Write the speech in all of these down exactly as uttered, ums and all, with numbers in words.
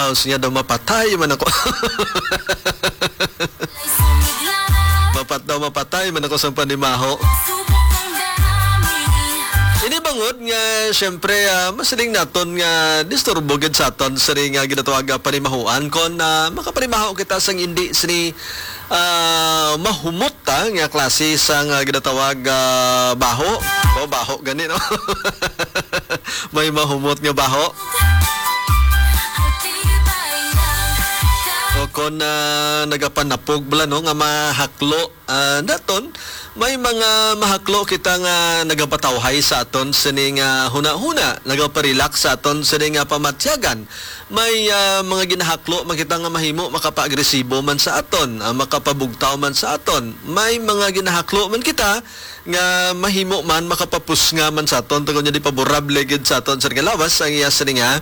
Tapos niya daw, "Mapatay man ako." Mapat daw, "Mapatay man ako sang panimaho." Ini bangod nga, siyempre, ah, masiling naton nga disturbo gid sa aton sini nga ginatawag nga panimahuan kon, ah, makapanimaho kita sang indi sini, ah, mahumot, ah, nga klase sang, ah, ginatawag, ah, baho. O, baho gani, no? May mahumot nga baho. O kon, ah, nagapanapog bala, no, nga mahaklo, ah, naton, may mga mahaklo kita nga nagapatawhay sa aton sini nga hunahuna, nagaparelax sa aton sini nga pamatyagan. May, ah, mga ginahaklo man kita nga mahimo makapaagresibo man sa aton, ah, makapabugtaw man sa aton. May mga ginahaklo man kita nga mahimo man makapapusnga man sa aton, tungod nga di paborable gid sa aton sa nga lawas ang iya sini nga,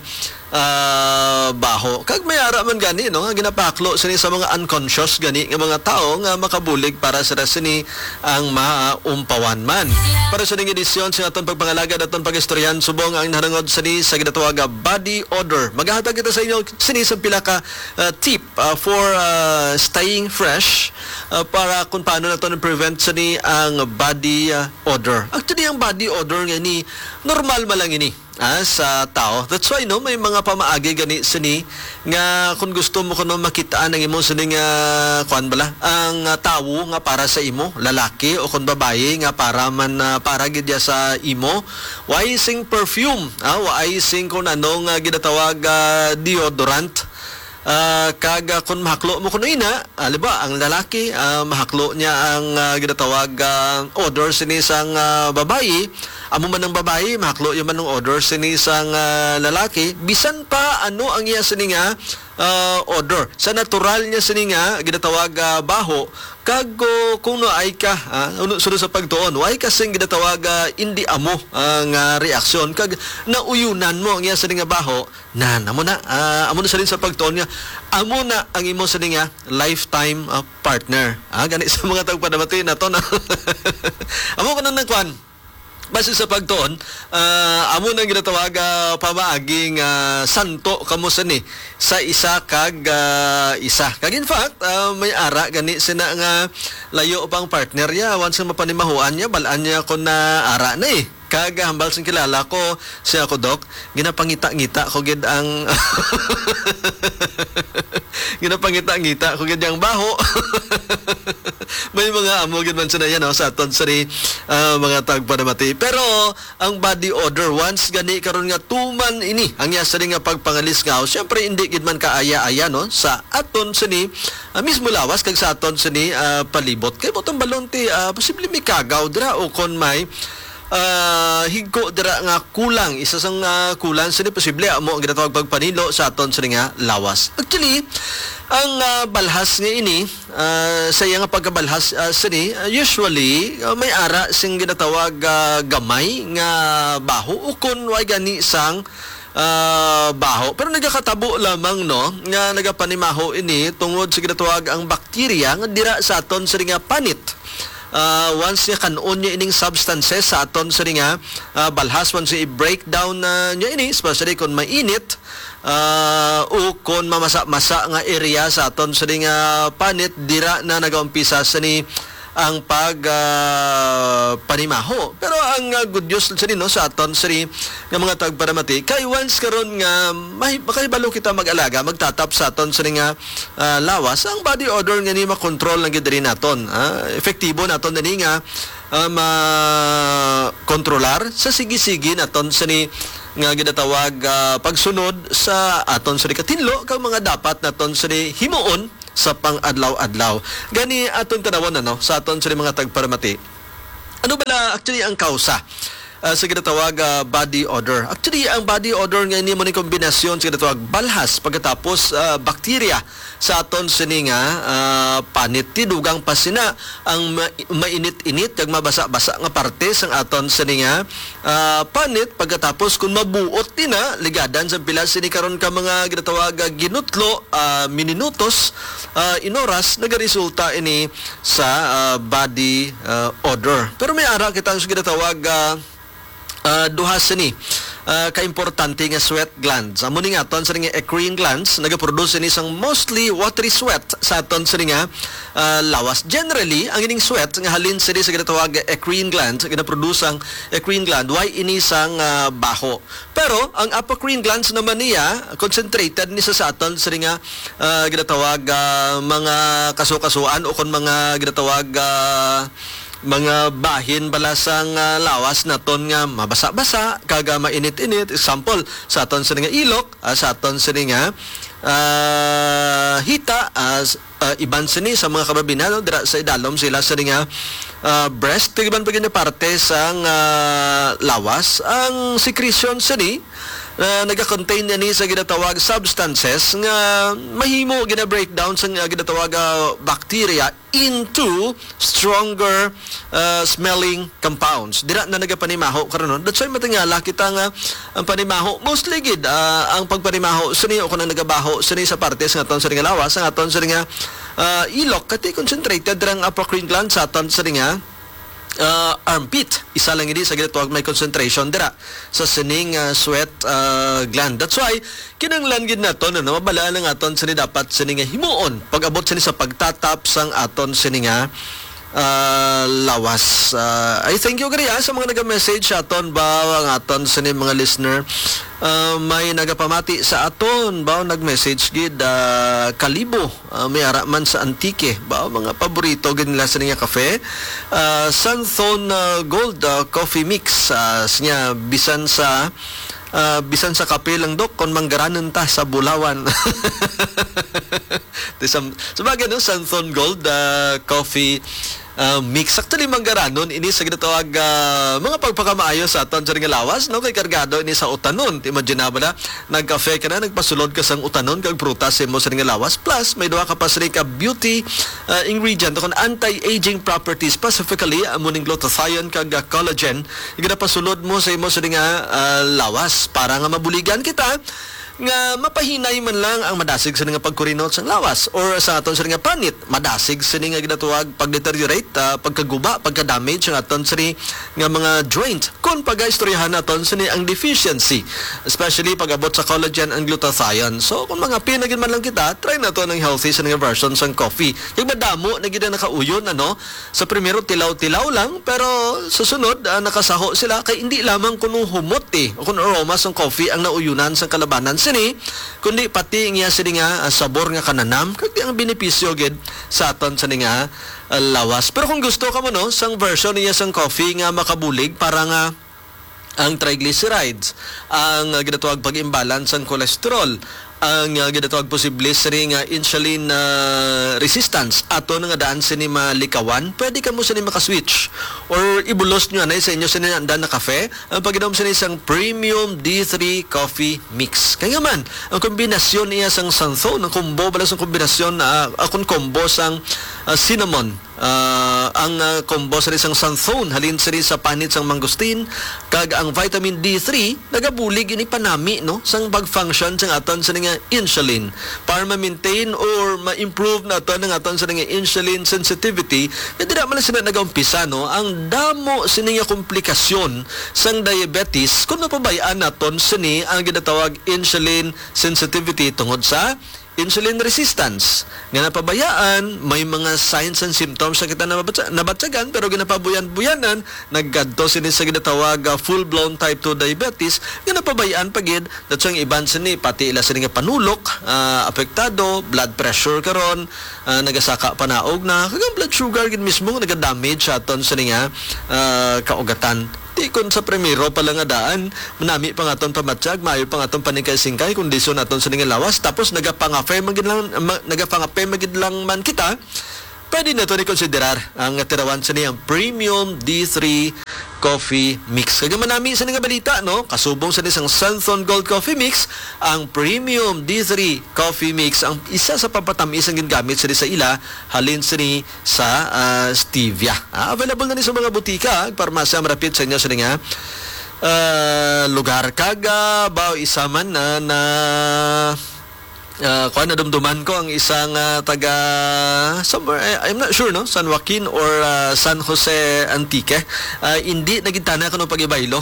ah, baho. Kag may ara man gani, no, nga ginapahaklo sini sa mga unconscious gani nga mga tawo nga makabulig para sa sini ang maumpawan man. Para sa ning edisyon sa aton pagpangalagad, aton pag-istoryahan subong ang nahanungod sini sa ginatawag nga body odor. Magahatag kita sa inyo sini sa pila ka, ah, tip, ah, for, ah, staying fresh, ah, para kung paano naton prevent sini ang body, ah, odor. Actually, ang body odor nga ini, normal man lang ini, ah, sa tao. That's why, no, may mga pamaagi gani sini nga kung gusto mo kuno makit-an ang imo sini nga, kuan bala, ang, ah, tawo nga para sa imo, lalaki o kung babayi nga para man, ah, para gid ya sa imo, why sing perfume, ah, why sing kung ano nga ginatawag, ah, deodorant. Ah, kag, ah, kung mahaklo mo kuno ina, ah, halimbawa, ang lalaki, ah, mahaklo niya ang, ah, ginatawag, ah, odor sini sang, ah, babayi. Amo man ang babayi, mahaklo niya man ang odor sini sang, ah, lalaki. Bisan pa ano ang iya sini nga, ah, odor. Sa natural niya sini nga ginatawag, ah, baho, kag, oh, kung naay ka, ah, uno, sunod sa pagtuon, naay ka sing ginatawag, ah, indi amo, ah, nga reaksyon, kag nauyunan mo ang iya sini nga baho, nan, amo na, ah, amo na sini sa pagtuon nga, amo na ang imo sini nga lifetime, ah, partner. Ah, gani sa mga tagpanamati naton, ah. Amo ko nang nagkuan. Base sa pagtuon, ah, amo nang ginatawag, ah, pamaagi nga santo kamo sini sa isa kag, ah, isa. Kag in fact, ah, may ara gani sina nga layo pang partner ya. Once nga mapanimahuan niya, bal-an niya kung na ara na eh. Kag hambal sing kilala ko, siya ko, Doc, ginapangita-ngita ko gid ang ginapangita-ngita ko gid ang baho. May mga amo gid man sila yan, no, sa aton sini, ah, mga tagpanamati. Pero ang body odor, once gani karon nga tuman ini ang iya sini nga pagpangalisngaw, siyempre, hindi gid man kaaya-aya, no, sa aton sini, ah, mismo lawas kag sa aton sini, ah, palibot. Kay butang balon ti, ah, posible may kagaw dira o kon may, ah, higko dira nga kulang. Isa sang, ah, kulang sini posible amo ang ginatawag pagpanilo sa aton sini nga lawas. Actually, ang, ah, balhas nga ini, ah, sa iya nga pagkabalhas, ah, sini, ah, usually, ah, may ara sing ginatawag, ah, gamay nga baho o kon way gani sang, ah, baho. Pero nagakatabo lamang, no, nga nagapanimaho ini tungod sa ginatawag ang bakterya nga dira sa aton sini nga panit. Ah, once nga kan-on niya ining substances sa aton sini nga, ah, balhas, once i-breakdown na niya ini, especially kung mainit, ah, o kon mamasa-masa nga area sa aton sini nga panit, dira na nagaumpisa sini ang pag, ah, panimaho. Pero ang, ah, good news sini, no, sa aton sini nga mga tagpanamati, kay once karon nga mahi-, makahibalo kita mag-alaga, magtatap sa aton sini nga, ah, lawas, ang body odor nga ni makontrol lang gid diri naton. Ah, epektibo naton dini nga, ah, makontrolar sa sige-sige naton sini nga ginatawag, ah, pagsunod sa aton sini katinlo kag mga dapat naton sini himuon sa pang-adlaw-adlaw. Gani aton tanawon, ano, sa aton sini mga tagparamati. Ano bala actually ang kausa, ah, sa ginatawag, ah, body odor? Actually, ang body odor nga ini mo ni kombinasyon sa ginatawag balhas pagkatapos, ah, bakterya sa aton sini nga, ah, panit. Ti dugang pa sina ang ma-, mainit-init kag mabasa-basa nga parte sang aton sini nga, ah, panit. Pagkatapos, kung mabuot din na, ligadan sa pila sini karon ka mga ginatawag, ah, ginutlo, ah, minutos, ah, in oras, nagaresulta ini sa, ah, body, ah, odor. Pero may ara kita ang ginatawag, ah, ah, duha sini, ah, kaimportante nga sweat glands. Amo ni nga aton sini nga eccrine glands, nagaproduce ini sang mostly watery sweat sa aton sini nga, ah, lawas. Generally, ang ining sweat nga halin sini sa ginatawag eccrine gland, ginaproduce ang eccrine gland, why ini sang, ah, baho. Pero ang apocrine glands naman niya, concentrated ni sa, sa aton sini nga, ah, ginatawag, ah, mga kasukasuan o kon mga ginatawag, ah, mga bahin bala sang, ah, lawas naton nga mabasa-basa kag, ah, mainit-init. Example, sa aton sini nga ilok, ah, sa aton sini nga, ah, hita, ah, s-, ah, iban sini sa mga kababayen-an, no, dira sa idalom sila sini nga, ah, breast, kag iban pa gid nga parte sang, ah, lawas. Ang secretion sini, ah, nagakontain ini sa ginatawag substances nga mahimo gina-breakdown sa, ah, ginatawag, ah, bacteria into stronger, uh, smelling compounds. Dira na nagapanimaho karon, no? That's why matingala kita nga ang panimaho, mostly gid, uh, ang pagpanimaho sini o kung nagabaho sini sa parte sa aton sini nga lawas, ang aton sini nga, uh, ilok, kati concentrated ra ang apocrine gland sa aton sini nga, uh, armpit. Isa lang ini sa ginatawag may concentration dira sa sining, uh, sweat, uh, gland. That's why kinahanglan gid naton, ano, mabalaan ang aton sini dapat sini nga himuon pag-abot sini sa pagtatap sang aton sini nga, ah, lawas. Ah, I thank you gani, ah, sa mga naga-message sa aton ba, ang aton sini mga listener. Ah, may nagapamati sa aton ba, nag-message gid, ah, Kalibo, ah, may ara man sa Antique ba, mga paborito gid nila sini nga kafe. Ah, Santhon, ah, Gold, ah, Coffee Mix, ah, siya bisan sa ah, bisan sa kape lang, Dok, kung manggaranon ta sa Bulawan. Di sam-, sabagay, no, Santhon Gold, ah, Coffee, ah, Mix. Actually, manggaranon ini sa ginatawag, ah, mga pagpakamaayo sa aton sa nga lawas, no? Kay kargado ini sa utanon. Imagine na ba na, nagkafe ka na, nagpasulod ka sang utanon, kag prutas sa imo sa nga lawas. Plus, may duha ka pa sini ka beauty, ah, ingredient, kung anti-aging properties, specifically, amo ning glutathione kag, ah, collagen, ginapasulod mo sa imo sini nga, ah, lawas para nga mabuligan kita nga mapahinay man lang ang madasig sini nga pagkurinot sang lawas or sa aton sini nga panit, madasig sini nga ginatuwag pag-deteriorate, ah, pagkaguba, pagka-damage ang aton sini nga mga joint. Kung pagaistoryahan naton sini ang deficiency, especially pag-abot sa collagen and glutathione. So, kung mga pinagin man lang kita, try naton ang healthy sini nga version sang coffee. Yung madamo na gid ang nakauyon, ano, sa primero, tilaw-tilaw lang, pero sa sunod, ah, nakasaho sila kay indi lamang kuno humot, eh, o kun aroma sang coffee ang nauyunan sang kalabanan sini, kundi pati ang iya sini nga, ah, sabor nga kananam, kag ang benepisyo gid sa aton sini nga, ah, lawas. Pero kung gusto ka mo, no, sang version niya sang coffee nga makabulig para nga ang triglycerides, ang, ah, ginatawag pag-imbalance sang cholesterol, ang, ah, ginatawag posible sini nga insulin, ah, resistance, ato na nga daan sini malikawan, pwede kamo sini makaswitch or ibulos nyo anay sa inyo sini anda na kafe ang pag-inom sini sang premium D three coffee mix. Kaya man, ang kombinasyon niya sang Santhon, ang combo, bala sang kombinasyon, ah, akon combo sang, ah, cinnamon, ah, ang, ah, combo sini sang Santhon, halin sini sa panit sang mangosteen, kag ang vitamin D three, nagabulig ini panami, no, sang pag-function sang aton sini nga insulin. Para ma-maintain or ma-improve naton ang aton sini nga insulin sensitivity, nga dira man lang sila nagaumpisa, no, ang damo sini nga komplikasyon sang diabetes kung mapabay-an naton sini ang ginatawag insulin sensitivity tungod sa insulin resistance. Nga napabayaan, may mga signs and symptoms na kita nabatsa-, nabatyagan, pero ginapabuyan-buyanan, nagkadto sini sa ginatawag, ah, full-blown type two diabetes, nga napabayaan pa gid, datong iban sini, pati ila sini nga panulok, ah, apektado, blood pressure karon, ah, nagasaka panaog na, kag ang blood sugar gid mismo, naga-damage sa aton sini nga, ah, kaugatan. Di kon sa primero pa lang nga daan, manami pa nga aton pamatyag, maayo pa nga aton paningkay-singkay, kondisyon naton sa nga lawas, tapos nagapangafe man gid lang, ma-, nagapangafe man gid lang man kita, pwede naton i-konsiderar ang tirawan sa niyang Premium D three Coffee Mix. Kag manami sa nga balita, no? Kasubong sa isang Santhon Gold Coffee Mix, ang Premium D three Coffee Mix, ang isa sa pampatamis ang ginagamit sa, sa ila, halin sini sa, ah, stevia. Ah, available na ni sa mga butika, farmasya, marapit sa inyo sa nga, ah, lugar. Kag, ah, ba, isa man na, na, ah, kuwan, nadumduman ko ang isang, ah, taga somewhere, I, I'm not sure, no? San Joaquin or, ah, San Jose Antique. Ah, hindi nagintana ko ng pag-ibaylo.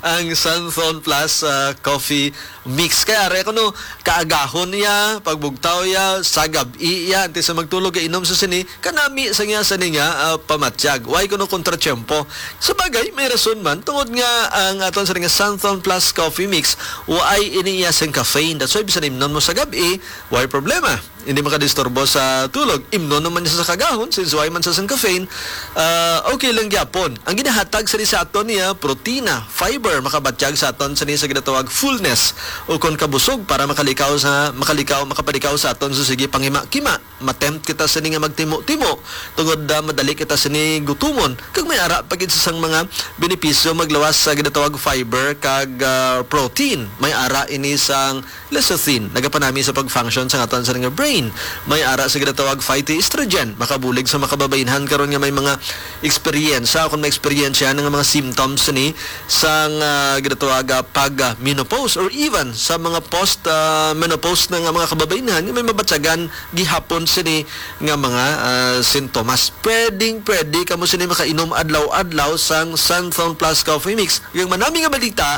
ang Santhon Plus, ah, Coffee Mix. Kaya are kuno kaagahon niya, pagbugtaw niya, sa gab-i niya, antes sa magtulog, inom sa sini, kanami sa niya sa niya, ah, pamatyag. Why kuno kontratiempo? Sa bagay, may rason man, tungod nga ang aton sa nga Santhon Plus Coffee Mix, why ini iya sing caffeine. That's why bisan imnon mo sa gab-i, why problema? Hindi makadisturbo sa tulog. Imnon naman niya sa kagahon, since why man sa sang caffeine, ah, okay lang gyapon. Ang ginahatag sa sa aton niya, protina, fiber, makabatyag sa aton sa sa ginatawag fullness o kon kabusog para makalikaw sa, makalikaw, makapadikaw sa aton sa sige pangima-kima. Matempt kita sini nga magtimo-timo tungod, ah, madali kita sini gutumon. Kag may ara pa gid sa sang mga benepisyo maglawas sa ginatawag fiber kag, ah, protein. May ara ini sang lecithin, nagapanami sa pag-function sa aton sa nga brain. May ara sa ginatawag phytoestrogen, makabulig sa makababaynhan karon nga may mga eksperyensya, kung may eksperyensya nga mga symptoms ni sang, ah, ginatawag, ah, pag, ah, menopause, or even sa mga post, ah, menopause na nga mga kababaynhan nga may mabatyagan gihapon sini nga mga, ah, sintomas. Pwedeng pwede kamo sini makainom adlaw-adlaw sang Santhon Plus Coffee Mix. Yung manami nga balita,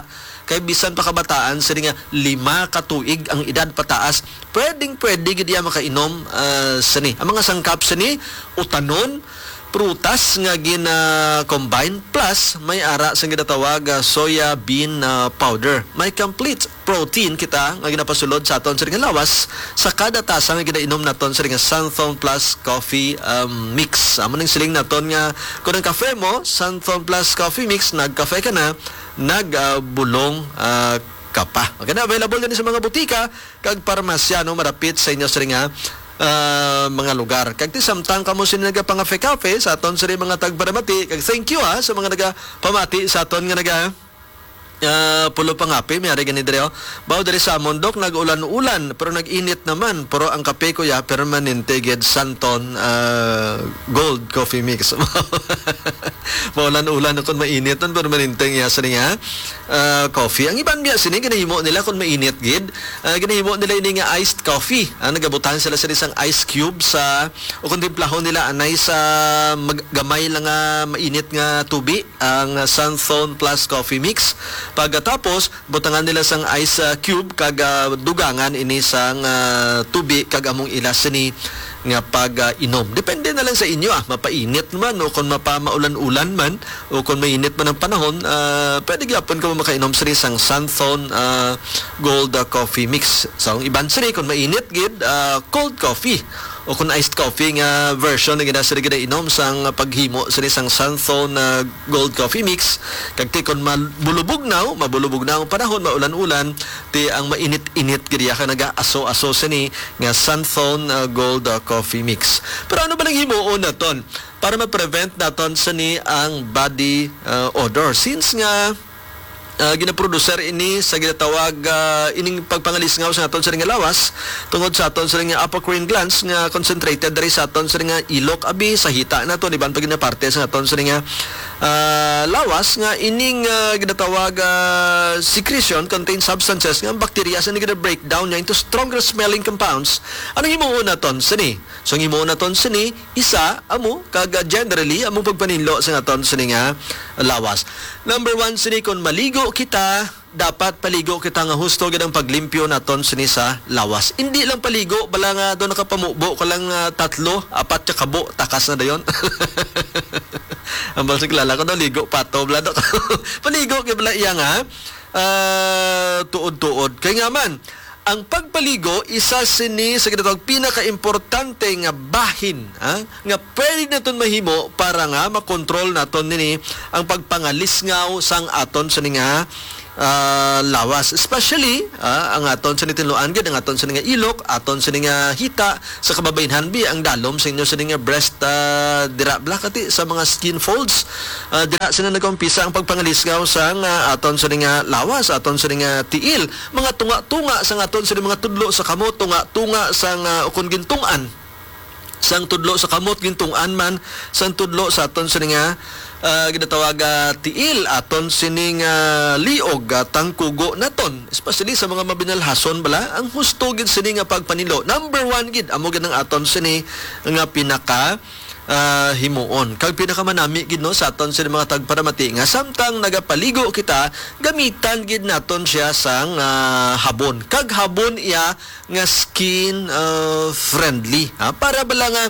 kay bisan pa kabataan, sini nga lima ka tuig ang edad pataas, pwedeng pwede gid iya makainom, ah, sini. Ang mga sangkap sini, utanon, prutas nga gina-combine, plus may ara sang ginatawag, ah, soya bean, ah, powder. May complete protein kita nga ginapasulod sa aton sini nga lawas sa kada tasa nga ginainom naton sini nga Santhon Plus Coffee, um, Mix. Amo ning siling naton nga kung ang kafe mo, Santhon Plus Coffee Mix, nagkafe ka na, nag, ah, bulong, ah, ka pa. Okay na, available din sa mga butika kag parmasya, no, marapit sa inyo sini nga, ah, mga lugar. Kag ti samtang kamo sini nagapangafe-kafe sa aton sini mga tagparamati, kag thank you, ha, sa mga nagapamati sa aton nga naga, ah, pulo pangape, may ari gani diri, oh. Bao diri sa amon, Dok, nag-ulan-ulan, pero nag-init naman. Pero ang kape ko, ya, permanente gid, Santon, ah, Gold Coffee Mix. Maulan-ulan kung mainit, nun, permanente ang iya sini nga, ah, coffee. Ang iban biya sini, ginahimo nila kung mainit gid. Ah, ginahimo nila ini nga iced coffee. Ah, nagabutang sila sa isang ice cube sa, o kung timplahon nila anay sa mag-, gamay lang nga mainit nga tubi, ang Santhon Plus Coffee Mix. Pagkatapos, butangan nila sang ice, ah, cube kag, ah, dugangan ini sang, ah, tubi kag among ila sini nga pag, ah, inom. Depende na lang sa inyo, ah, mapainit man o kung mapamaulan-ulan man o kung mainit man ang panahon, ah, pwede gyapon kamo makainom sini sang Santhon, ah, Gold, ah, Coffee Mix. Sa ang iban sini, kung mainit gid, ah, cold coffee o kung iced coffee nga version nga gina-, sini ginainom sang paghimo sini sang Santhon, ah, Gold Coffee Mix. Kag ti kon mabulubugnaw, mabulubugnaw ang panahon, maulan-ulan, ti ang mainit-init gid iya ka nagaaso-aso sini nga Santhon, ah, Gold, ah, Coffee Mix. Pero ano ba lang himuon naton para ma-prevent naton sini ang body, ah, odor? Since nga, ah, ginaproducer ini sa ginatawag, ah, ining pagpangalisngaw sa naton sini nga lawas tungod sa aton sini nga apocrine glands nga concentrated diri sa aton sini nga ilok, abi, sa hita naton, iban pa gid nga parte sa naton sini nga, ah, lawas nga ining, ah, ginatawag, ah, secretion contains substances nga ang bakterya sini gina-breakdown niya into stronger smelling compounds. Ano himuon naton sini? So, ang himuon naton sini, isa, amo, kag, ah, generally, amo pagpaninlo sa naton sini nga lawas. Number one sini, kung maligo kita, dapat paligo kita nga husto gid ang paglimpyo naton sini sa lawas. Hindi lang paligo, bala nga doon nakapamubo ka lang, ah, tatlo, apat ka kabo, takas na dayon. Ang bala sa kilala ko daw, ligo pato, bala daw. Paligo kay bala iya nga, ah, tuod-tuod. Kay nga man, ang pagpaligo, isa sini sa ginatawag pinakaimportante nga bahin, ha, nga pwede naton mahimo para nga makontrol naton nini ang pagpangalisngaw sang aton sini nga, ah, lawas. Especially, ah, ang aton sini tinluan gid, ang aton sini nga ilok, aton sini nga hita, sa kababaynhan bi ang dalom sa inyo sini nga breast, ah, dira bala kati sa mga skin folds. Ah, dira sini nagaumpisa ang pagpangalisngaw sang, ah, aton sini nga lawas, aton sini nga tiil. Mga tunga-tunga sang aton sini mga tudlo sa kamot, tunga-tunga sang, ah, ukon gintungtan. Sang tudlo sa kamot, gintungtan man, sang tudlo sa aton sini nga, ah, ginatawag, ah, tiil, aton sini nga liog, ah, tangkugo naton, especially sa mga mabinalhason bala, ang husto gid sini nga pagpanilo. Number one gid, amo gid ang aton sini nga pinaka, ah, himuon. Kag pinakamanami gid, no, sa aton sini mga tagparamati nga samtang nagapaligo kita, gamitan gid naton siya sang, ah, habon. Kag habon iya nga skin, ah, friendly, ha? Para bala nga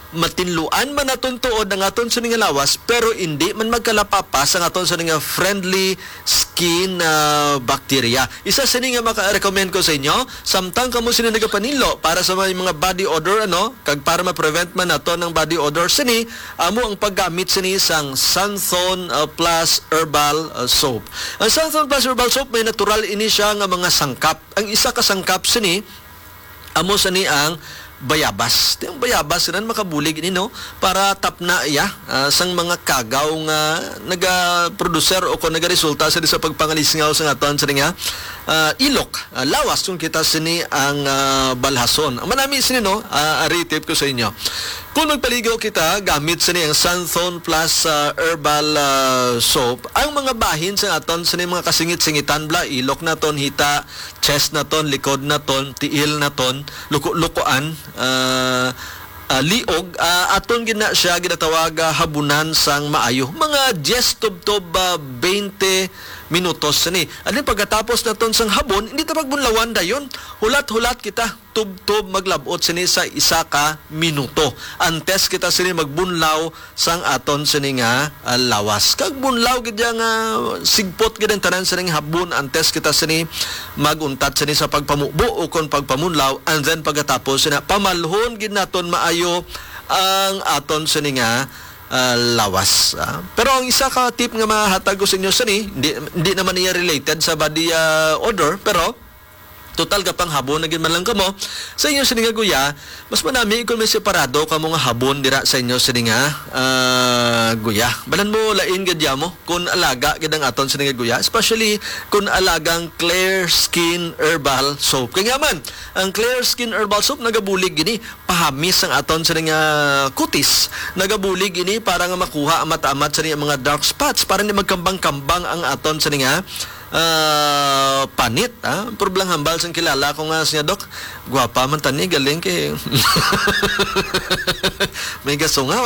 matinluan man naton tuod ang aton sini nga lawas, pero indi man magkalapapas ang aton sini nga friendly skin, ah, bacteria. Isa sini nga maka-recommend ko sa inyo, samtang kamo sini nagapaninlo para sa may mga body odor, ano, kag para ma-prevent man nato ng body odor sini, amo ang paggamit sini sang Santhon, ah, Plus Herbal, ah, Soap. Ang Santhon Plus Herbal Soap may natural ini siya nga mga sangkap. Ang isa ka sangkap sini, amo sini ang bayabas. Ti ang bayabas ran makabulig ini, no, para tapna iya, ah, sang mga kagaw nga nagaproducer o kon nagaresulta sini sa pagpangalisngaw sa aton sini nga, ah, ilok, ah, lawas kung kita sini ang, ah, balhason. Ang manami sini, no, ah, ari tip ko sa inyo. Kung magpaligo kita gamit sini ang Santhon Plus, ah, Herbal, ah, Soap, ang mga bahin sa aton sini mga kasingit-singitan bala, ilok naton, hita, chest naton, likod naton, tiil naton, luko-lukoan, ah, ah, liog, ah, aton gid na siya ginatawag, ah, habunan sang maayo. Mga diyes tubtob, ah, twenty minutos sini. Ano pagkatapos naton sang habon, hindi ta pagbunlawan dayon. Hulat-hulat kita. Tubtob maglab-ot sini sa isa ka minuto. Antes kita sini magbunlaw sang aton sini nga, ah, lawas. Kag bunlaw gid ya nga sigpot gid ang tanan sining habon antes kita sini mag-untat sini sa pagpamubo o kon pagpamunlaw, and then pagkatapos sina pamalhon gid naton maayo ang aton sini nga, ah, lawas, ah. Pero ang isa ka tip nga mahatag ko sa inyo sini, hindi, hindi naman niya related sa body, ah, odor, pero total, kapanghabon na gid man lang kamo sa inyo sini nga guya, mas manami kon may separado kamo nga habon dira sa inyo sini nga, ah, guya. Balan mo, lain gid ya mo kon alaga gid ang aton sini nga guya, especially kon alagang Clear Skin Herbal Soap. Kay nga man, ang Clear Skin Herbal Soap nagabulig gini pahamis ang aton sini nga kutis. Nagabulig ini para nga makuha ang mata-amat sini ang mga dark spots, para hindi magkambang-kambang ang aton sini nga, ah, panit, ah. Pero bala hambal sang kilala ko nga siya, "Dok, gwapa man tani, galing kay may gasungaw."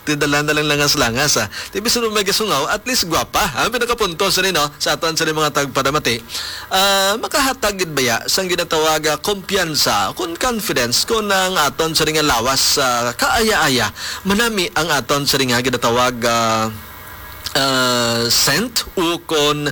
Ti dalan na lang langas-langas, ah. Ti bisan mo may gasungaw, at least gwapa, ha? Pinakapunto sa nino, sa aton sa mga tagparamati. Ah, makahatag gid baya sang ginatawag, ah, kumpiyansa, kun confidence, kun ang aton sa nga lawas, ah, kaaya-aya, manami ang aton sa nga ginatawag, ah, ah, scent, o kun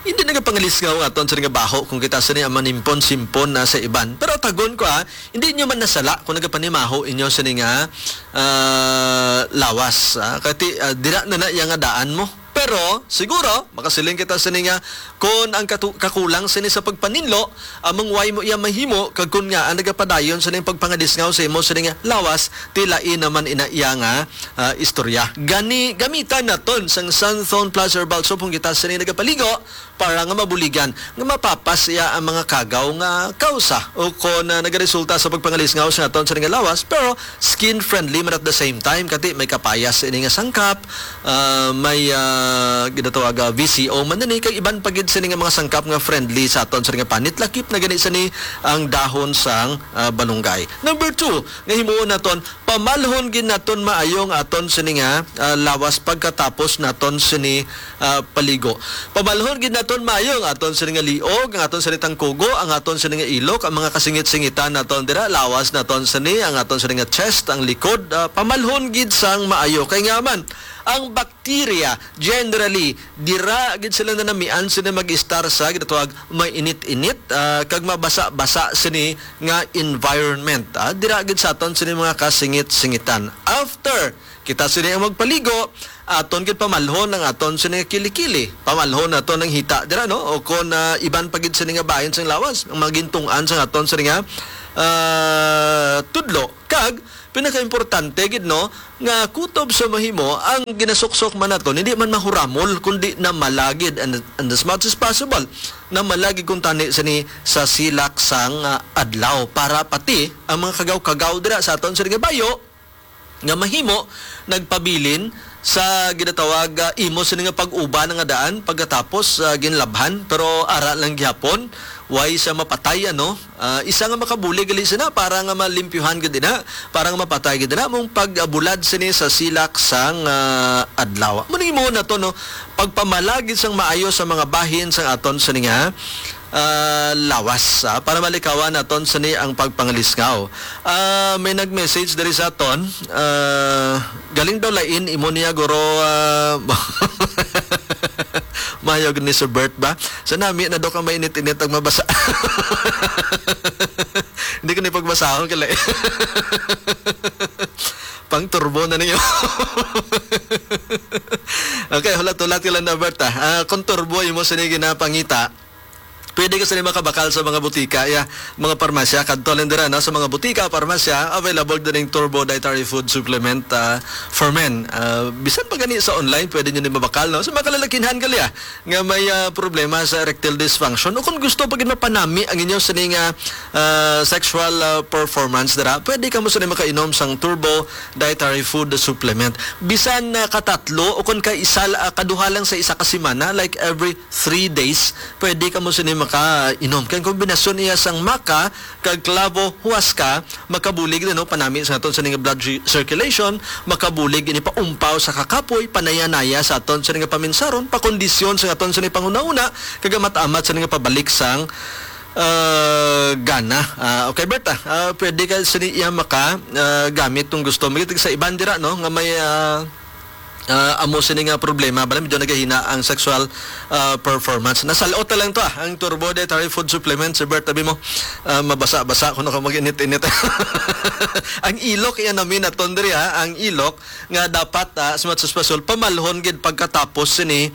hindi nagapangalisngaw ang aton sa nga baho kung kita sa niya manimpon-simpon na sa iban. Pero tagon ko, ah, hindi nyo man nasala kung nagapanimaho inyo sa nga, ah, lawas, ah, kati, ah, dira na na iya nga daan mo. Pero siguro makasiling kita sini nga, kon ang katu-, kakulang sini sa pagpaninlo, among way mo iya mahimo, kag kon nga ang nagapadayon sini ang pagpangalisngaw sa imo sini nga lawas, ti lain naman ina iya nga, ah, istorya. Gani, gamitan naton sang Santhon Plus Herbal Soap kung kita sini nagapaligo para nga mabuligan nga mapapas iya ang mga kagaw nga kausa o kon, ah, nagaresulta sa pagpangalisngaw sa aton sini nga lawas, pero skin friendly man at the same time, kati may kapayas ini nga sangkap, ah, may, ah, ginatawag, ah, V C O man ini, kag iban pa gid sini nga mga sangkap nga friendly sa aton sa nga panit, lakip na gani sini ang dahon sang, ah, balunggay. Number two, nga himuon naton, pamalhon gid naton maayo ang aton sini nga, ah, lawas pagkatapos naton sini, ah, paligo. Pamalhon gid naton maayo ang aton sini nga liog, ang aton sini tangkugo, ang aton sini nga ilok, ang mga kasingit-singitan naton dira, lawas naton sini, ang aton sini nga chest, ang likod, ah, pamalhon gid sang maayo. Kay nga man, ang bakterya, generally, dira gid sila nanamian sini mag-istar sa ginatawag may init-init, ah, kag mabasa-basa sini nga environment, ah. Dira gid sa aton sini mga kasingit-singitan. After kita sini ang magpaligo, aton gid pamalhon ang aton sini nga kilikili. Pamalhon naton ang hita dira, no? O kon, ah, iban pa gid sini nga bahin sang lawas, ang mga gintungtan sang aton sini nga, ah, tudlo. Kag pinakaimportante gid, no, nga kutob sa mahimo ang ginasuksok man naton, hindi man mahuramol, kundi namala gid, and, and as much as possible, namala gid kuntani sini sa silak sang, ah, adlaw, para pati ang mga kagaw-kagaw dira sa aton sini nga bayo nga mahimo nagpabilin sa ginatawag, ah, imo sini nga pag-uban nga daan pagkatapos, ah, ginlabhan, pero ara lang gihapon, way siya mapatay, ano? Ah, isa nga makabulig gali sina para nga malimpyuhan gid na, para nga mapatay gid na mong pag-abulad sini sa silak sang, ah, adlaw. Mao ning imo na to, no? Pagpamalagi sang maayo sa mga bahin sang aton sini nga, ah, lawas, ah, para malikawan naton sini ang pagpangalisngaw. Ah, may nag-message diri sa aton, ah, galing daw lain imo niya, guro, ah, mayog ni Sir Bert ba? Sa nami na daw ka mainit-init ang mabasa. Hindi ko ni pagbasahon kala. Pang turbo na niyo. Okay, hulat-hulat ka lang na, Bert, ah. Ah, kung turbo imo sini ginapangita, pwede ka sini makabakal sa mga butika, ya, mga parmasya. Kadto lang dira, no? Sa mga butika, parmasya, available din ang Turbo Dietary Food Supplement, ah, for Men. Ah, bisan pa gani sa online, pwede nyo ni mabakal, no? Sa mga kalalakinhan, gali, ah, nga may, ah, problema sa erectile dysfunction, o kung gusto pa gid mapanami ang inyong sining, ah, ah, sexual, ah, performance dira, pwede kamo sini makainom sang Turbo Dietary Food Supplement. Bisan, ah, katatlo o kung kaisa, ah, kaduha lang sa isa ka semana, like every three days, pwede kamo sini makainom. Kay ang kombinasyon niya sang maca kag clavo huasca, makabulig din, no, panami sa aton sini nga blood ci-, circulation, makabulig ini paumpaw sa kakapoy, panaya-naya sa aton sini nga paminsaron, pakondisyon sa aton sini panghunahuna, kag amat-amat sini nga pabalik sang, ah, gana. Ah, okay, Bert, ah, ah, pwede ka sini iya maka, ah, gamit kung gusto. May sa iban dira, no, nga may, ah, ah, amo sini nga problema, bala medyo nagahina ang sexual, ah, performance. Nasalot na lang to, ah, ang Turbo Dietary Food Supplement, si Bert, tabi mo, ah, mabasa-basa kung ako mag-init-init. Ang ilok, yan namin naton diri, ha, ang ilok nga dapat, ah, as much as possible, pamalhon gid pagkatapos sini,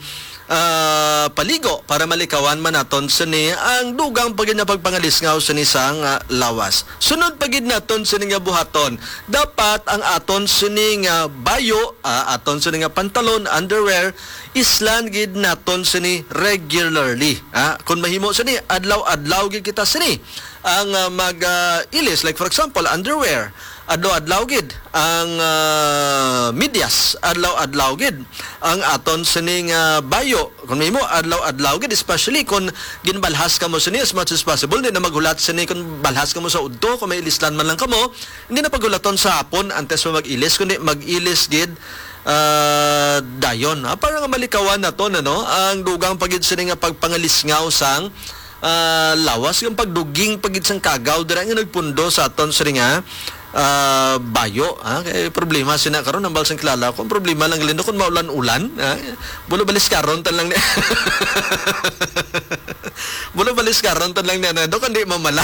ah, paligo para malikawan man naton sini ang dugang pa gid nga pagpangalisngaw sini sang, ah, lawas. Sunod pa gid naton sini nga buhaton, dapat ang aton sini nga bayo, ah, aton sini nga pantalon, underwear, islan gid naton sini regularly. Ah, kung mahimo sini, adlaw-adlaw gid kita sini ang, ah, mag, ah, ilis. Like for example, underwear, adlaw-adlaw gid. Ang, ah, medyas, adlaw-adlaw gid. Ang aton sining, ah, bayo, kung mahimo, adlaw-adlaw gid, especially kung ginbalhas kamo sini as much as possible. Di na maghulat sini kung balhas kamo sa udto, kung may ilislan man lang kamo, hindi na paghulaton sa hapon antes mo mag-ilis, kundi mag-ilis gid, ah, dayon. Ah, para nga malikawan naton, ano, ang dugang pa gid sini nga pagpangalisngaw sang, ah, lawas, ang pagduging pa gid sang kagaw dira nga nagpundo sa aton sini nga, ah, bayo, ha? Kay problema sina karon, ang balsang kilala ko, ang problema lang galindo kung maulan-ulan, ha? Bulo balis karon tan lang ni. Bulo balis karon tan lang ni, ano, do, kundi mamala.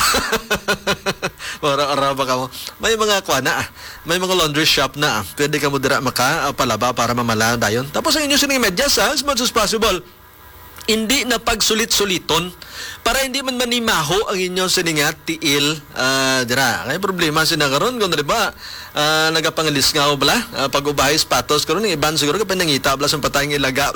Ora-ora ba kamo? May mga kuan na, ah. May mga laundry shop na, ah. Pwede kamo dira maka, ah, palaba para mamala dayon. Tapos ang inyo sining medyas, ha, as much as possible, hindi na pagsulit-suliton para hindi man manimaho ang inyo sining nga tiil, ah, dira. Kay problema sina karon kung, di ba, ah, nagapangalisngaw bala, ah, pag-ubahay sapatos karon, ang iban siguro kay pinangita bala sa patay nga ilaga.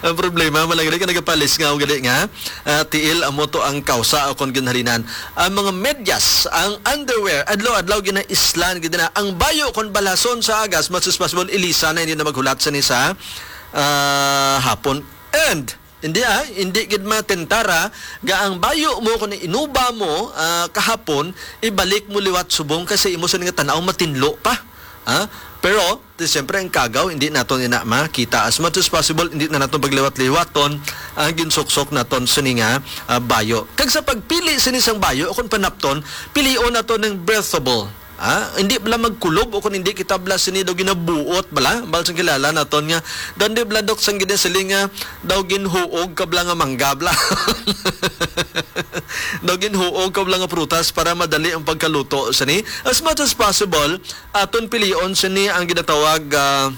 Ang problema, malagay ka nagapalisngaw gali nga, ah, tiil amo to ang kausa o kon ginhalinan. Ang mga medyas, ang underwear, adlaw-adlaw ginaislan gid na. Ang bayo kon balason sa agas, much as possible, ilisa na, hindi na maghulat sa ni sa, ah, hapon. And hindi, ah, hindi gid matentara ga ang bayo mo kung inuba mo, ah, kahapon, ibalik mo liwat subong kasi imo sa nga tanaw matinlo pa. Ha? Pero, di, siyempre, ang kagaw, hindi naton ina makita. As much as possible, hindi na naton pagliwat-liwaton ang ginsuksok naton sini nga, ah, bayo. Kag sa pagpili sini sang bayo, kung panapton, pilion nato ng breathable. Ha? Hindi bala magkulob o kung hindi kita bala sini daw ginabuot bala. Bal sang kilala naton nga, daw hindi bala, Dok, sang ginasiling nga daw ginhuog ka bala nga mangga bala. Daw ginhuog ka bala nga prutas para madali ang pagkaluto sini. As much as possible, aton pilion sini ang ginatawag, ah,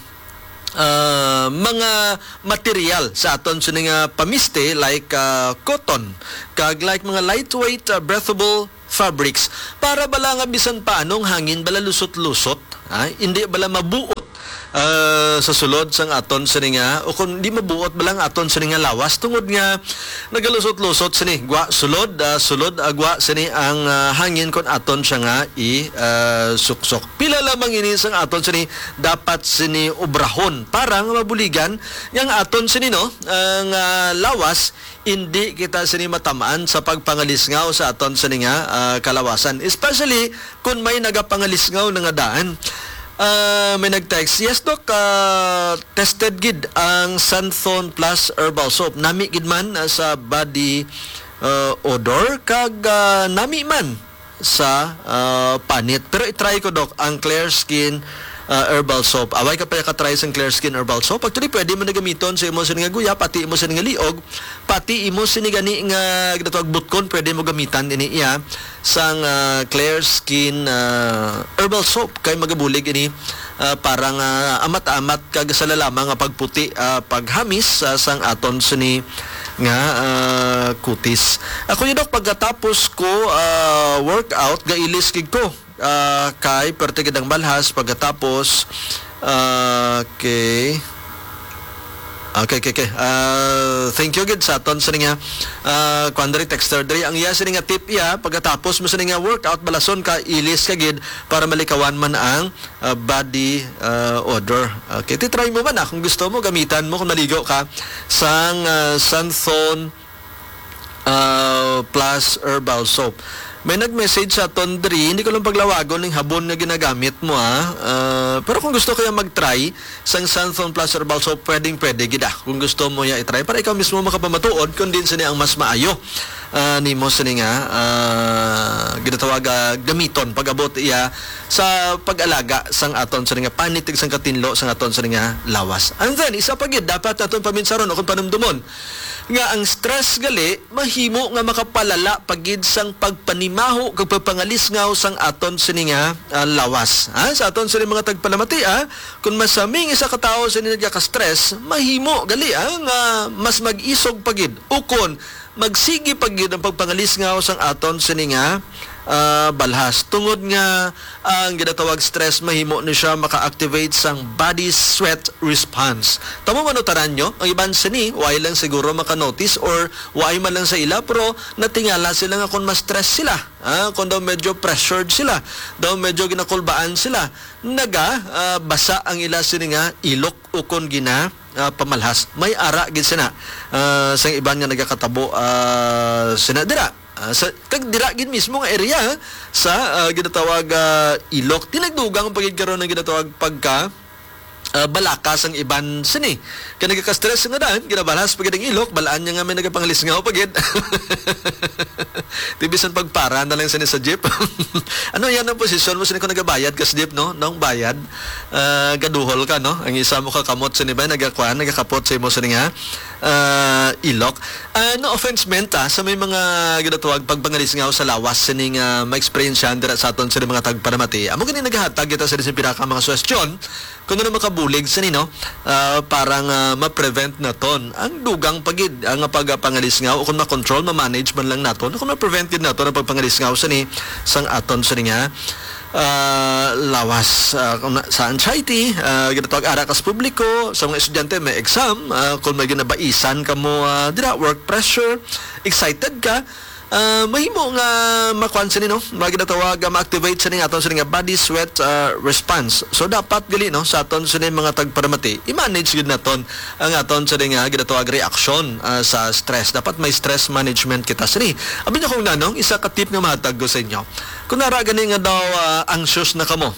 ah, mga material sa aton sini nga pamiste, like, ah, cotton, kag like mga lightweight, ah, breathable fabrics, para bala nga bisan pa anong hangin bala lusot-lusot, ha? Hindi bala mabuot ah, sa sulod sang aton sini nga, o kung di mabuot ba lang aton sini nga lawas, tungod nga nagalusot-lusot sini, gwa sulod, ah, sulod, ah, gwa sini ang, ah, hangin kon aton siya nga i, ah, suksok. Pila lamang ini sang aton sini dapat sini obrahon para nga mabuligan nga ang aton sini, no, ang, ah, lawas, indi kita sini matamaan sa pagpangalisngaw sa aton sini nga, ah, kalawasan. Especially kung may nagapangalisngaw na nga daan. Ah, may nag-text, "Yes, Doc, ah, tested gid ang Santhon Plus Herbal Soap. Nami gid man, ah, sa body, ah, odor, kag, ah, nami man sa, ah, panit. Pero i-try ko, Doc, ang Clear Skin, ah, Herbal Soap." Away ka pa ka-try sang Clear Skin Herbal Soap. Actually, pwede mo na gamiton sa imo sini nga guya, pati imo sini nga liog, pati imo sini gani nga ginatawag butkon, pwede mo gamitan ini iya sang, ah, Clear Skin, ah, Herbal Soap. Kay magabulig ini, ah, para nga amat-amat kag sa lalama nga pagputi, ah, paghamis, ah, sang aton sini nga, ah, kutis. Ako yun, Dok, pagkatapos ko, ah, workout, gailis gid ko. Ah, kay perte gid ang balhas pagkatapos, ah, okay. Okay, okay, okay. Ah, thank you gid sa aton sa nga, ah, kuwan diri, texter diri. Ang iya sini nga tip iya, pagkatapos mo sini nga workout, balason ka, ilis ka gid para malikawan man ang, ah, body, ah, odor. Okay, ti-try mo man, ah, kung gusto mo, gamitan mo kung naligo ka sang, ah, Santhon, ah, Plus Herbal Soap. May nag-message sa aton diri, hindi ko lang paglawagon ning habon nga ginagamit mo, ah. Ah, pero kung gusto kaya mag-try sang Santhon Plus Herbal Soap, pwedeng pwede gid, ah. Kung gusto mo ya i-try, para ikaw mismo makapamatuod kung din sini ang mas maayo, ah, nimo sini nga, ah, ginatawag, ah, gamiton pag-abot iya sa pag-alaga sang aton sini nga panit kag sang katinlo sang aton sini nga lawas. And then, isa pa gid, dapat naton paminsaron o kung panumdumon nga ang stress gali mahimo nga makapalala pa gid sang pagpanimaho kag pagpangalisngaw sang aton sini nga, ah, lawas. Ha? Sa aton sini mga tagpalamati, ah, kung masaming isa ka tawo sini nagaka-stress, mahimo gali, ah, nga mas mag-isog pa gid ukon magsigi pa gid ang pagpangalisngaw sang aton sini nga, ah, balhas. Tungod nga ang ginatawag stress, mahimo ni siya maka-activate sang body sweat response. Tamo man utaran nyo, ang iban sini, why lang siguro maka-notice or why man lang sa ila, pero natingala sila nga kung ma-stress sila, ah, kung daw medyo pressured sila, daw medyo ginakulbaan sila, naga, ah, basa ang ila sini nga ilok ukon gina, ah, pamalhas. May ara gid sina, ah, sang iban nga nagakatabo, ah, sina dira. Ah, sa, kag dira gid mismo nga area sa, ah, ginatawag, ah, ilok. Tinagdugang pa gid karon ang ginatawag pagka, ah, balaka sang iban sini. Kay nagaka-stress nga daan, ginabalhas pa gid ang ilok, balaan niya nga may nagapangalisngaw pa gid. Ti bisan pagpara na lang sini sa jeep. Ano yan ang posisyon mo? Sini ko nagabayad ka sa jeep, no? Nung bayad, ah, gaduhol ka, no? Ang isa mo kakamot sini ba, nagakuan, nagakapot sa imo sini nga, ah, ilok. Ah, no offense meant, ah, sa may mga ginatawag pagpangalisngaw sa lawas sining, ah, ma-experience dira sa aton sa mga tagparamati. Amo gani nagahatag kita sa isang pinaka mga suwestyon kung ano makabulig sa nino, ah, para nga ma-prevent naton ang dugang pagid ang pagpangalisngaw o kung ma-control, ma-manage man lang naton, kung ma-prevent gid naton ang pagpangalisngaw sa ni sang aton sa nga ah, lawas, ah, kung na, sa anxiety, ah, ginatawag ara ka sa publiko, sa mga estudyante may exam, ah, kung may ginabaisan kamo, ah, dira, work pressure, excited ka, ah, mahimo nga makuan sini, no? Mga ginatawag, ah, ma-activate sini nga aton sini nga body sweat, ah, response. So dapat gali, no, sa aton sini mga tagparamati, i-manage gid naton ang aton sini nga ginatawag reaksyon, ah, sa stress. Dapat may stress management kita sini. Abi niyo kung nanong isa ka tip nga mahatag ko sa inyo. Kung nara gani nga daw, ah, anxious na kamo,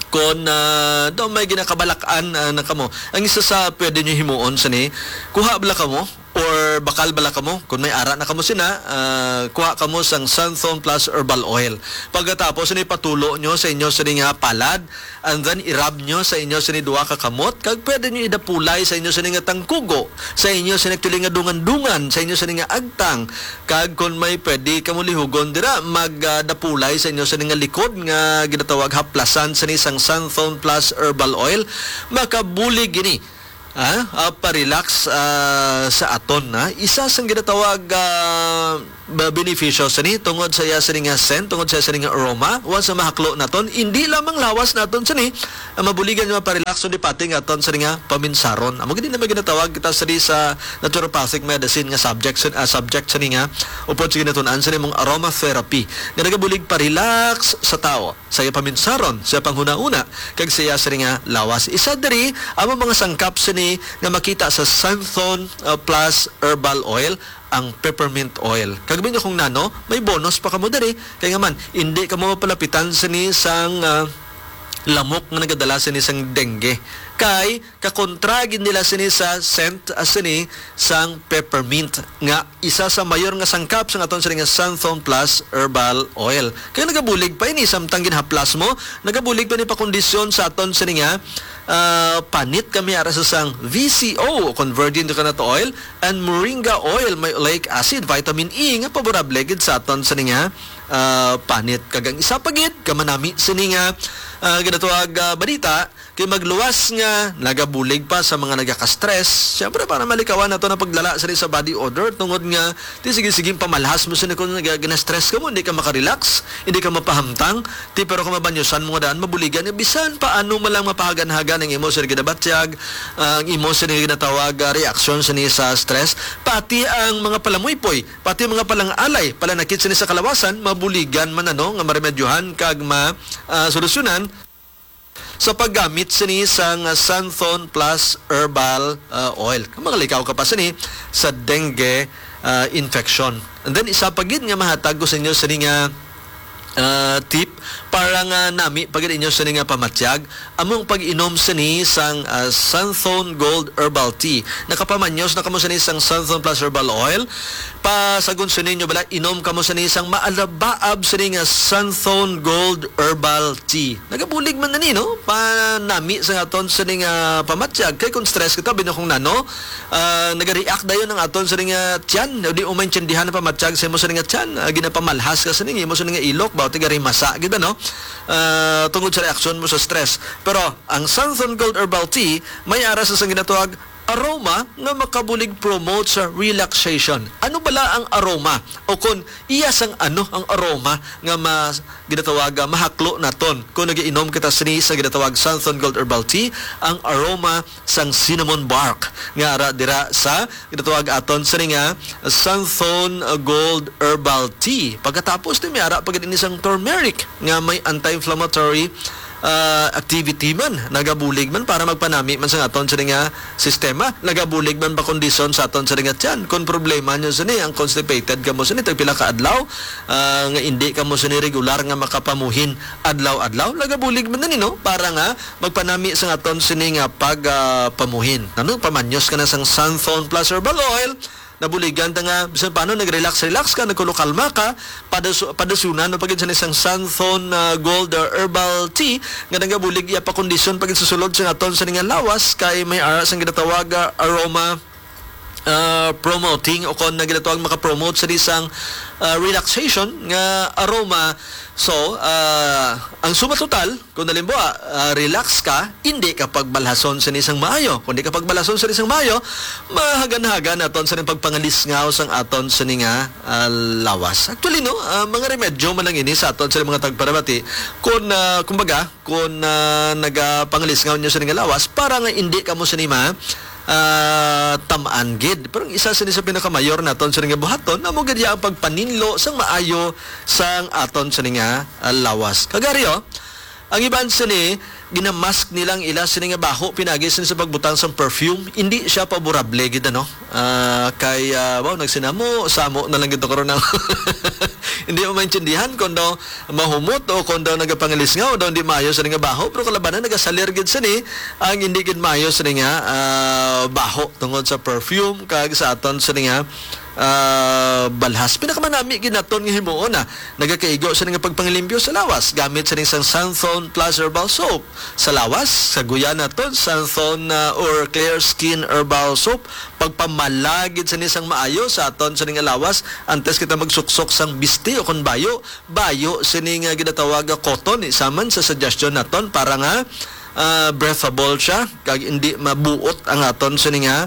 kung, ah, daw may ginakabalak-an, ah, na kamo, ang isa sa pwede nyo himuon sini, kuha bala kamo or bakal bala kamo, kung may ara na kamo sina, ah, kuha kamo sang Santhon Plus Herbal Oil. Pagkatapos, sini patulo nyo sa inyo sini nga palad, and then i-rub nyo sa inyo sini duha ka kamot, kag pwede nyo idapulay sa inyo sini nga tangkugo, sa inyo sini actually nga dungan-dungan, sa inyo sini nga agtang, kag kon may pwede kamo lihugon dira, mag, ah, dapulay sa inyo sini nga likod nga ginatawag haplasan sini sang Santhon Plus Herbal Oil. Makabulig ini Ah, ah, pa-relax, ah, sa aton, ah. Isa sang ginatawag, ah, ba-, benepisyo sini tungod sa iya sini nga scent, tungod sa iya sini nga aroma, once na mahaklo naton, indi lamang lawas naton sini, ah, mabuligan nga pa-relax, kundi pati nga aton sini nga paminsaron. Amo gid na may ginatawag kita sini sa naturopathic medicine nga subject sin-, ah, subject sini nga upod sa ginatun-an sini mong aromatherapy nga nagabulig pa-relax sa tawo. Sa iya paminsaron, sa iya panghunahuna, kag sa iya sini nga lawas. Isa diri ang mga sangkap sini nga makita sa Santhon, uh, Plus Herbal Oil, ang peppermint oil. Kag ninyo kung nano, may bonus pa kamo diri. Kay nga man, hindi kamo mapalapitan sini sang, uh, lamok nga nagadala sini sang dengue. Kay kakontra gid nila sini sa scent, uh, sini sang peppermint nga isa sa mayor nga sangkap sang aton sini nga Santhon Plus Herbal Oil. Kay nagabulig pa ini, samtang ginhaplas mo, nagabulig pa ni pakondisyon sa aton sini nga, ah, panit kami ara sa sang V C O, kon virgin coconut oil, and moringa oil, may oleic acid, vitamin E, nga favorable gid sa aton sini nga, ah, panit. Kag ang isa pa gid, kamanami sini nga, ah, ginatawag, ah, balita, kay magluwas nga nagabulig pa sa mga nagaka-stress. Siyempre, para malikawan nato na pagdala sini sa body odor, tungod nga ti sige-sige pamalhas mo sini kung naga-, gina-stress ka mo, hindi ka makarelax, hindi ka mapahamtang. Ti pero kung mabanyosan mo nga daan, mabuligan nga bisan paano man lang mapahagan-hagan ang imo sini ginabatyag, ang imo sini ginatawag, ah, reaksyon sini sa stress. Pati ang mga palamuypoy, pati ang mga palangalay, palanakit sini sa kalawasan, mabuligan man ano nga maremedyohan kag ma-, ah, solusyonan sa paggamit sini sang Santhon Plus Herbal, ah, Oil. Kung makalikaw ka pa sini sa dengue, ah, infection. And then, isa pa gid nga mahatag ko sa inyo sini nga, ah, tip para nga nami pa gid inyo sini nga pamatyag, among pag-inom sini sang, ah, Santhon Gold Herbal Tea. Nakapamanyos na kamo sini sang Santhon Plus Herbal Oil? Pasagon sini nyo bala, inom kamo sini sang maalabaab sini nga Santhon Gold Herbal Tea. Nagabulig man ani, no? Panami sa aton sini nga pamatyag. Kay kung stress kita, bino kung nano, ah, nagareact dayon ang aton sini nga tiyan. Di mo maintindihan ang pamatyag sa imo sini nga tiyan. Ah, ginapamalhas ka sini, imo sini nga ilok, ba, tigarimasa gid, no? Ah, tungod sa reaksyon mo sa stress. Pero ang Santhon Gold Herbal Tea, may ara sa sang ginatawag aroma nga makabulig promote sa relaxation. Ano bala ang aroma? O kon iya sang ano ang aroma nga ma-, ginatawag, ah, mahaklo naton kung nagiinom kita sini sa ginatawag Santhon Gold Herbal Tea, ang aroma sang cinnamon bark nga ara dira sa ginatawag aton sini nga Santhon Gold Herbal Tea. Pagkatapos, ti may ara pa gid ini sang turmeric nga may anti-inflammatory, ah, activity man, nagabulig man para magpanami man sa aton sini nga sistema, nagabulig man pakondisyon sa aton sini nga tiyan. Kung problema nyo sini, ang constipated kamo sini, tagpila ka adlaw, ah, nga hindi kamo sini regular nga makapamuhin adlaw-adlaw, nagabulig man ni, no? Para nga magpanami sa aton sini nga pag, ah, pamuhin. Ano, pamanyos ka na sang Santhon Plus Herbal Oil, nabuligan ta nga bisan paano nag-relax-relax ka, nagkulokalma ka, padas-, padasunan mo pa gid sa isang Santhon, ah, Gold, ah, Herbal Tea nga nagabulig iya pakondisyon pa gid sa sulod sa aton sini nga lawas kay may ara sang ginatawag, ah, aroma, ah, promoting o kon na ginatawag makapromote sa isang, ah, relaxation nga aroma. So, ah, ang suma total, kung halimbawa, ah, relax ka, hindi ka pagbalhason sa isang maayo. Kung di ka pagbalhason sa isang maayo, mahagan-hagan naton sa pagpangalisngaw sang aton sa nga, ah, lawas. Actually, no, ah, mga remedyo man lang ini sa aton sa mga tagparabati. Kung, ah, kumbaga, kung, ah, nagapangalisngaw niyo sa nga lawas, para nga hindi kamo sa nima, ah, tamaan gid. Pero ang isa sini sa pinakamayor naton sa nga buhaton, amo gid ang pagpaninlo sang maayo sang aton sa nga, ah, lawas. Kagari, oh, ang iban sini, ginamask nila ang ila sini nga baho, pinagi sini sa pagbutang sang perfume. Hindi siya paborable gid, ano? Ah, kay, ah, wow, nagsinamo, samo na lang gid karon na. Hindi mo maintindihan kung daw mahumot o kung daw nagapangalisngaw o daw hindi maayo sini nga baho, pero kalabanan nagasalir gid sini ang hindi gid maayo sini nga, ah, baho tungod sa perfume kag sa aton sini nga, ah, balhas. Pinakamanami gid naton nga himuon na nagakaigo sini nga pagpangalimpyo sa lawas gamit sini sang Santhon Plus Herbal Soap. Sa lawas, saguyan naton Santhon, ah, or Clear Skin Herbal Soap. Pagpamala gid sini sang maayo sa aton sini nga lawas antes kita magsuksok sang bisti o kon bayo. Bayo sini nga ginatawag nga cotton, isa man sa suggestion naton para nga ah, breathable siya, kag hindi mabuot ang aton sini nga,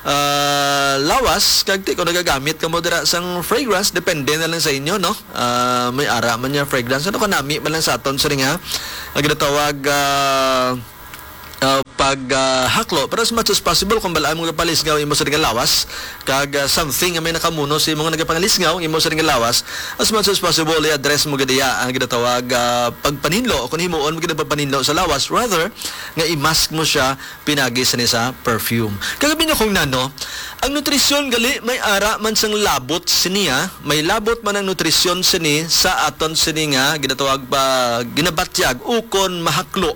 ah, lawas, kag ti kung nagagamit kamo dira sang fragrance, depende na lang sa inyo, no? Ah, may ara man niya fragrance. Ano, kanami man lang sa aton sini nga, ang ginatawag, ah, ah, pag, ah, haklo. Pero as much as possible, kung balaan mo palisngaw imo sa nga lawas, kag, ah, something nga may nakamuno sa imo nga nagapangalisngaw imo sa nga lawas, as much as possible, i-address mo gid iya ang ginatawag, ah, pagpaninlo, kung himuon mo gid ang pagpaninlo sa lawas, rather, nga i-mask mo siya pinagi sini sa perfume. Kag abi na kung nano, ang nutrisyon gali may ara man sang labot sini, ah. May labot man ang nutrisyon sini sa aton sini nga ginatawag ba, ginabatyag ukon mahaklo,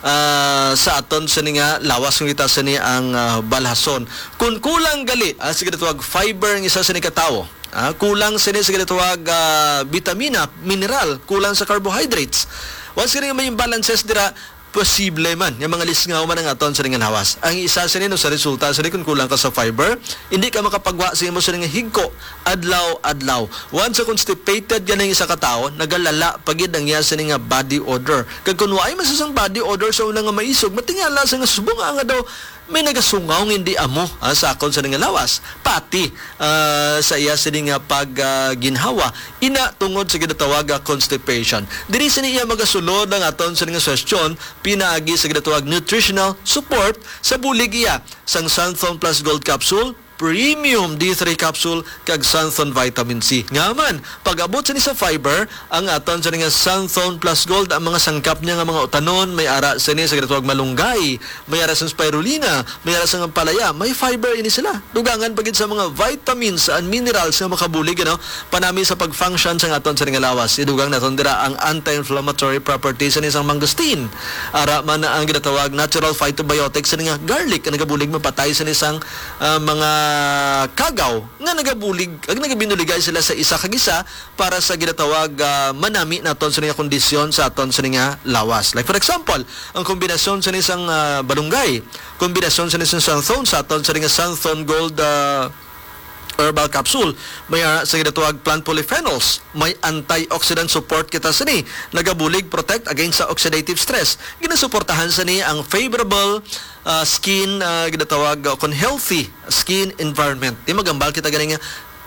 ah, sa aton sini nga lawas kung kita sini ang, ah, balhason. Kung kulang gali, ah, sa ginatawag fiber ang isa sini ka tawo, ah, kulang sini sa ginatawag, ah, bitamina, mineral, kulang sa carbohydrates. Once kini may imbalances dira, posible man nga mga lisngaw man ang aton sa nga lawas. Ang isa sini, no, sa resulta sini, kung kulang ka sa fiber, hindi ka makapagwa sa imo sini nga higko adlaw-adlaw. Once constipated gani ang isa ka tawo, nagalala pa gid ang iya sini nga body odor. Kag kung waay man sa sang body odor sa una nga maisog, matingala sa nga subong nga daw may nagasungaw nga hindi amo, ah, sa akon sini nga lawas. Pati, ah, sa iya sini nga pag, ah, ginhawa, ina tungod sa ginatawag nga constipation. Diri sini iya magasulod ang aton sini nga suhestyon pinaagi sa ginatawag nutritional support sa bulig iya sang Xanthone Plus Gold Capsule, Premium D three Capsule, kag Xanthone Vitamin C. Nga man, pag-abot sini sa fiber, ang aton sini nga Xanthone Plus Gold, ang mga sangkap niya nga mga utanon, may ara sini sa ginatawag malunggay, may ara sang spirulina, may ara sang ampalaya, may fiber ini sila. Dugangan pa gid sa mga vitamins and minerals nga makabulig, ano, panami sa pag-function sang aton sini nga lawas. Idugang naton dira ang anti-inflammatory properties sini sang mangosteen. Ara man na ang ginatawag natural phytobiotics sini nga garlic, nga nagabulig mapatay sini sang, ah, mga kagaw nga nagabulig, ag nagabinuligay sila sa isa kag isa para sa ginatawag, ah, manami naton sini nga kondisyon sa aton sini nga lawas. Like for example, ang kombinasyon sini sang, ah, balunggay, kombinasyon sini sang xanthone sa aton sini nga xanthone gold, ah, herbal capsule. May, ah, sa ginatawag plant polyphenols. May antioxidant support kita sini. Nagabulig protect against sa oxidative stress. Ginasuportahan sini ang favorable, ah, skin, ah, ginatawag, ah, kon healthy skin environment. Di magambal kita gani nga,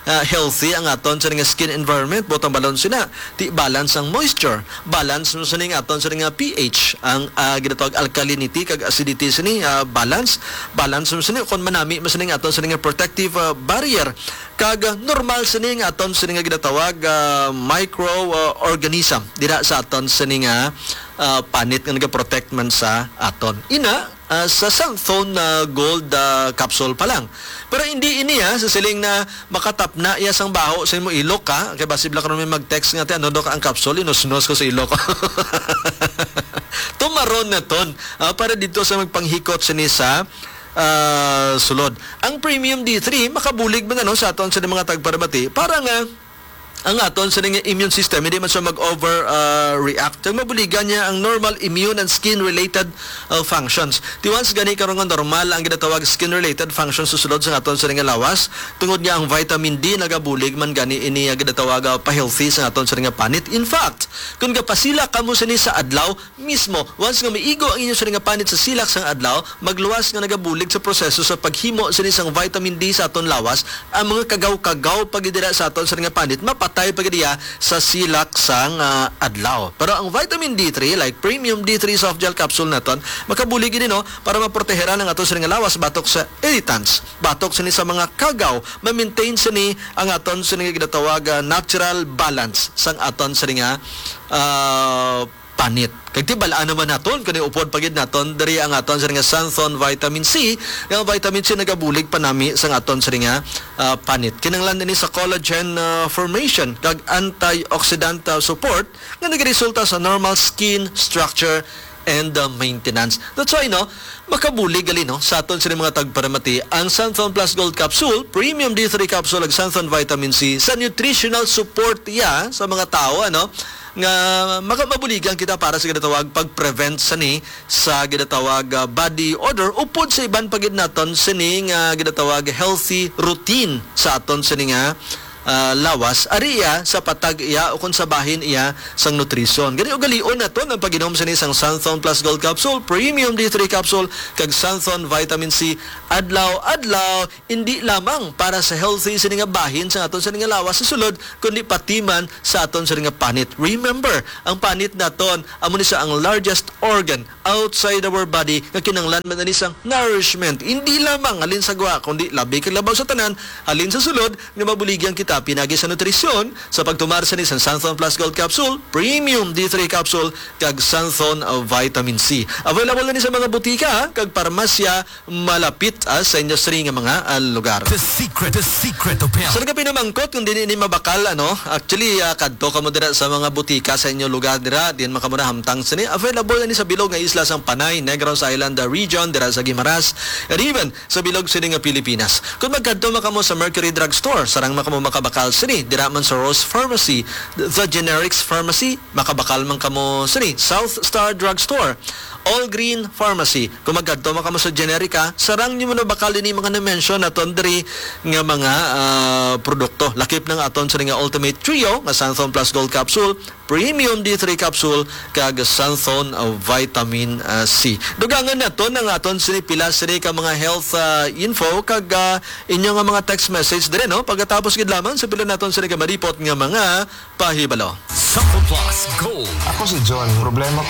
ah, healthy ang aton sini nga skin environment, buot hambalon sina. Ti balance ang moisture, balance mo sini nga aton sini nga P H, ang, ah, ginatawag alkalinity kag acidity sini, ah, balance, balance mo sini kon manami mo sini nga aton sini nga protective, ah, barrier, kag, ah, normal sini nga aton sini nga ginatawag, ah, micro, ah, organism dira sa aton sini nga, ah, panit nga nagaprotect man sa aton. Ina, ah, sa cellphone na gold, ah, capsule pa lang. Pero hindi ini, ha, sa siling na makatapna iya sang baho sa imo ilok, ha. Kay basi bala karon may mag-text nga, "Ti, ano daw ka ang capsule? Inusnos ko sa ilok." Tumaron na ton, ah, para dito sa magpanghikot sini sa, ah, sulod. Ang premium D three makabulig man, ano, sa aton sa mga tagparamati para nga ang aton sa nga immune system, hindi man siya mag-over, ah, react. Ang mabuligan niya ang normal immune and skin-related, ah, functions. Ti once gani karon nga normal ang ginatawag skin-related functions sa sulod sa aton sa nga lawas, tungod niya ang vitamin D nagabulig man gani ini nga ginatawag, ah, pa-healthy sa aton sa nga panit. In fact, kung gapasila kamo sini sa adlaw, mismo, once nga maigo ang inyo sini nga panit sa silak sang adlaw, magluwas nga nagabulig sa proseso sa paghimo sini sang vitamin D sa aton lawas, ang mga kagaw-kagaw pa gid dira sa aton sini nga panit, mapatay pa gid iya sa silak sang, ah, adlaw. Pero ang vitamin D three, like premium D three soft gel capsule naton, makabulig gid, no, para maproteheran ang aton sini nga lawas batok sa irritants, batok sini sa mga kagaw, ma-maintain sini ang aton sini nga ginatawag, ah, natural balance sang aton sini nga, ah, panit. Kag tibal-an naman naton, kani upod pa gid naton diri ang aton sini nga xanthone vitamin C, nga ang vitamin C nagabulig panami sang aton sini nga, ah, panit. Kinahanglan ini sa collagen, ah, formation kag antioxidant, ah, support nga nagaresulta sa normal skin structure and, ah, maintenance. That's why, no, makabulig gali, no, sa aton sini mga tagparamati ang Xanthone Plus Gold Capsule, Premium D three Capsule, ag Xanthone Vitamin C sa nutritional support iya sa mga tawo, ano, nga maka-, mabuligan kita para sa ginatawag pag-prevent sani sa ginatawag, ah, body odor, upod sa iban pa gid naton sini nga ginatawag healthy routine sa aton sini nga, ah, lawas, ari iya sa patag iya o kon sa bahin iya sang nutrisyon. Gani, ugalion naton ang pag-inom sini sang Santhon Plus Gold Capsule, Premium D three Capsule, kag Santhon Vitamin C adlaw-adlaw, indi lamang para sa healthy sini nga bahin sa aton sini nga lawas sa sulod, kundi pati man sa aton sini nga panit. Remember, ang panit naton amo ni sa ang largest organ outside our body nga kinahanglan man ani sang nourishment, hindi lamang halin sa gwa, kundi labi kag labaw sa tanan, halin sa sulod, nga mabuligan kita pinagi sa nutrisyon sa pagtumar sini sang Santhon Plus Gold Capsule, Premium D three Capsule, kag Santhon, uh, Vitamin C. Available na ni sa mga butika kag parmasya malapit, ah, sa inyo sini nga mga, ah, lugar. The secret, the secret of health. Sa nagapinamangkot kung dili ni mabakal, ano, actually, ah, kadto kamo dira sa mga butika sa inyo lugar dira, din man kamo nahamtang sini. Available na ni sa bilog nga isla sang Panay, Negros Island, ah, region, dira sa Guimaras, and even sa bilog sini nga Pilipinas. Kung magkadto man kamo sa Mercury Drug Store, sarang man kamo makabakal sini. Dira man sa Rose Pharmacy, The Generics Pharmacy, makabakal man kamo sini. South Star Drug Store, All Green Pharmacy. Kung magkadto man kamo sa Generica, sarang nyo man nabakal ini mga na-mention naton diri nga mga, ah, produkto. Lakip ng aton sini nga Ultimate Trio, nga Santhon Plus Gold Capsule, Premium D three Capsule, kag Santhon, ah, Vitamin, ah, C. Dugangan naton ang aton sini pila sini ka mga health, ah, info kag, ah, inyo nga mga text message diri, no? Pagkatapos gid lamang sa pila naton sini ka malipot nga mga pahibalo. Santhon Plus Gold. Ako si John. Problema